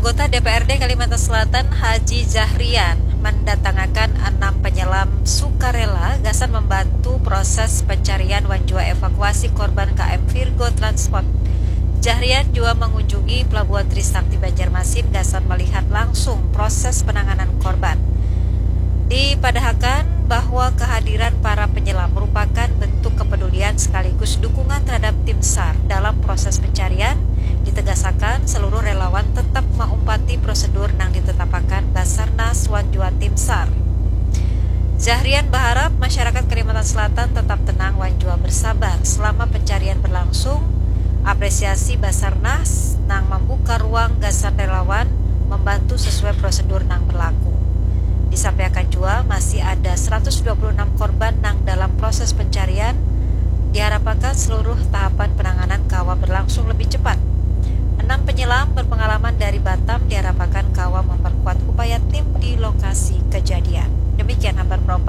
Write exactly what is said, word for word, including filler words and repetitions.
Anggota D P R D Kalimantan Selatan Haji Zahrian mandatangakan anam penyelam sukarela gasan membantu proses pencarian wan jua evakuasi korban K M Virgo Transport. Zahrian jua mengunjungi Pelabuhan Trisakti Banjarmasin gasan melihat langsung proses penanganan korban. Dipadahakan bahwa kehadiran para penyelam merupakan bentuk kepedulian sekaligus dukungan terhadap tim SAR dalam proses pencarian. Ditegasakan, seluruh relawan tetap maumpati prosedur nang ditetapakan Basarnas wan jua tim SAR. Zahrian berharap masyarakat Kalimantan Selatan tetap tenang wan jua bersabar selama pencarian berlangsung. Apresiasi Basarnas nang membuka ruang gasan relawan membantu sesuai prosedur nang berlaku. Disampaikan jua, masih ada seratus dua puluh enam korban nang dalam proses pencarian. Diharapkan seluruh tahapan penanganan kawa berlangsung lebih cepat. Enam penyelam berpengalaman dari Batam diharapkan kawa memperkuat upaya tim di lokasi kejadian. Demikian Habar Pro